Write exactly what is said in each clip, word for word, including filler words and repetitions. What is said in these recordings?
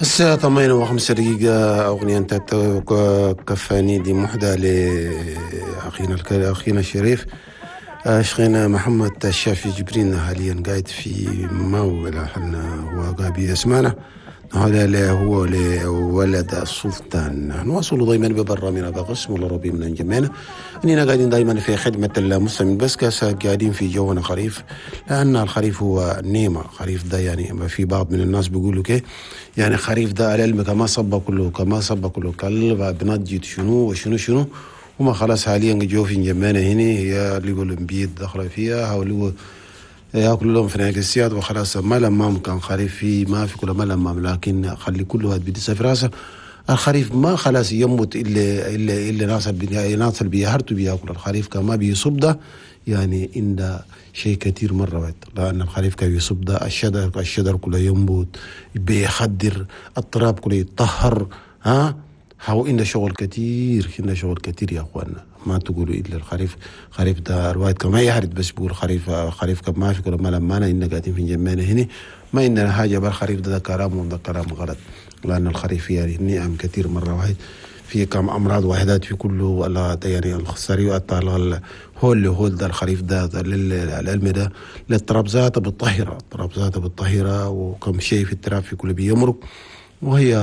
الساعة ثمانية وخمسة دقيقة. أغنية أنت كفاني دي محدة لأخينا أخينا الشريف شيخنا محمد الشافي جبرين، حاليا قاعد في ماو هو قاعد يسمعنا. هذا هو لولد السلطان. نواصل دائما ببرنامجنا بقسم الله ربي من جمعنا اننا قاعدين دائما في خدمة المسلمين، بس قاعدين في جونا خريف، لان الخريف هو النعمة. خريف ده يعني في بعض من الناس بيقولوا كي يعني خريف ده العلم كما صب كله كما صب كله كل بنجد شنو وشنو شنو وما خلاص. حاليا جو في جمعنا هنا هي اللي يقولوا بيد دخل فيها او اللي ياكلوا لهم في السياد وخلاص. ما لمام كان خريف في ما في كل ما لمام، لكن خلي كل واحد بيدس في راسه. الخريف ما خلاص يموت الا الا الا ناس ناس اللي بيهرتوا بياكل الخريف كما بيصب ده يعني إن شيء كثير مرة واحد، لأن الخريف كان يصب ده الشجر الشجر كله ينبت بيخدر التراب كله يتطهر. ها هو إن شغل كثير إن شغل كثير يا أخوانا. ما تقولوا إلا الخريف خريف ده الواحد كما يحرد بس بيقول خريف خريف كما في كل ما لما أنا إن قاعدين في جمعنا هنا ما إننا حاجة بالخريف ده, ده كلام وده كلام غلط، لأن الخريف يعني نعم كثير مرة واحد في كم أمراض واحدات في كله ولا يعني الخساري الطال هول هول ده الخريف ده للعلم ده للتراب ذاته بالطهرة التراب ذاته بالطهرة وكم شيء في التراب في كل بيمرق، وهي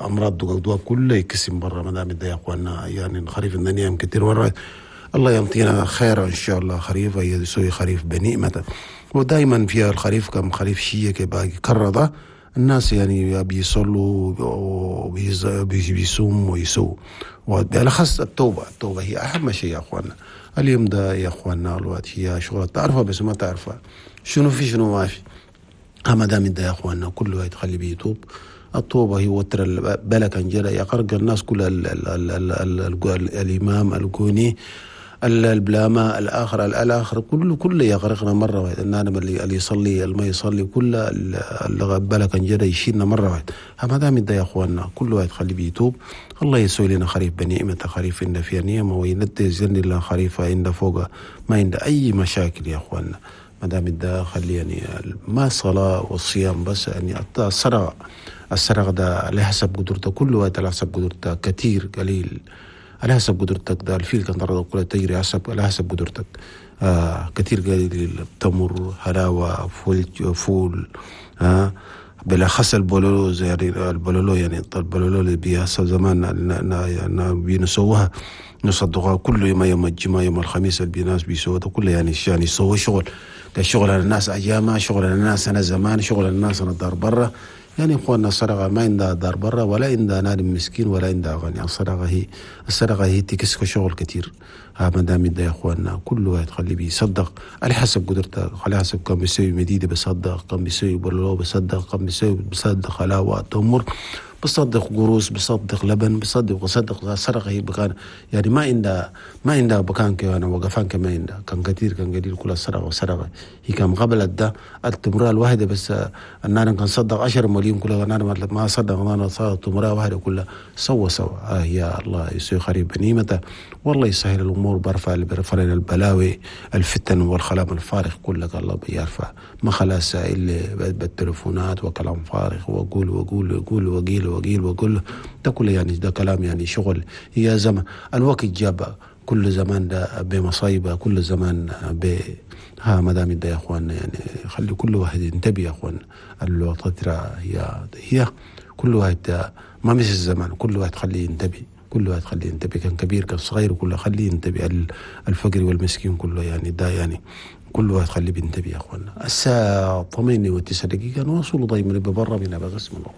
أمراض دواء كله يكسم برا. ما دام يا أخواننا يعني الخريف النعم كثير مرة. الله يعطينا خير إن شاء الله. خريف يسوي خريف بنعمته، ودائما فيها الخريف كم خريف شيء كباقي كرده الناس يعني بيصلوا وبيصوموا ويسووا، وبالأخص التوبة. التوبة هي أهم شيء يا أخواننا. اليوم ده يا أخواننا الوقت هي شغلة تعرفها بس ما تعرفها شنو في شنو ما في. أما دام ده يا أخواننا كل واحد خلي بيتوب. الطوبة هي وتر البلك انجلا يقرق الناس كل ال ال ال ال ال ال الإمام الجوني البلامة الآخر الآخر كله كله يغرقنا مرة واحدة. النادم اللي اللي يصلي اللي ما يصلي كل اللي بلك انجلا يشيلنا مرة واحدة. ما دام ده يا أخواننا كل واحد خلي بيتوب. الله يسوي لنا خريف بنعمة خريف إن فيها نعمة وينتزلني لنا خريف عند فوق ما عند أي مشاكل يا أخواننا. ما دام ده خلي يعني ما صلاة والصيام بس يعني السرقة السرقة ده على حسب قدرته كل وقت على حسب قدرته كثير قليل على حسب قدرتك. ده الفيل كان ترى كله تجري حسب على حسب قدرتك. آه كثير قليل تمر حلاوة فول فول آه بالأخص البولولو زي البولولو يعني البولولو اللي بيحصل زمان بينسوها نصدقها كل يوم يوم الجمعة يوم الخميس اللي الناس بيسووها كله يعني يعني يسووا شغل كشغل على الناس أيامها شغل على الناس أنا زمان شغل على الناس أنا دار برا. يعني إخواننا السرقة ما عندها دار برا ولا عندها نادم مسكين ولا عندها غني. السرقة هي السرقة هي تكسك شغل كثير. ها ما دام يا إخواننا كل واحد خليه بيصدق على حسب قدرته على حسب كم بيسوي مديدة بيصدق كم بيسوي بلو بيصدق كم بيسوي بيصدق حلاوة تمر بصدق قروس بصدق لبن بصدق وصدق. السرقة هي بكان يعني ما عندها ما عندها بكان كمان وقفان كمان عندها كان كثير كان قليل كل السرقة وسرقة هي كان قبل ده التمرة الواحدة بس النار كان صدق عشر مليون كلها النار ما صدق النار صار تمرة واحدة كلها سوا سوا. آه يا الله يسوي خريب بنيمته والله يسهل الأمور برفع برفع لنا البلاوي الفتن والخلام الفارغ كلك الله بيرفع ما خلاص إلا بالتلفونات وكلام فارغ وأقول وأقول وأقول وقيل وقيل وقول ده كله يعني ده كلام يعني شغل. هي زمان الوقت جاب كل زمان ده بمصايبه كل زمان ب ها ما دام ده يا اخوان يعني خلي كل واحد ينتبه يا اخوان. الوقت هي هي كل واحد ما مش الزمان كل واحد خليه ينتبه كل واحد خليه ينتبه كان كبير كان صغير كله خليه ينتبه الفقر والمسكين كله يعني ده يعني كل واحد خليه بينتبه يا اخوانا. الساعة ثمانية وتسع دقيقة نواصل دايما ببرا من بقسم الله.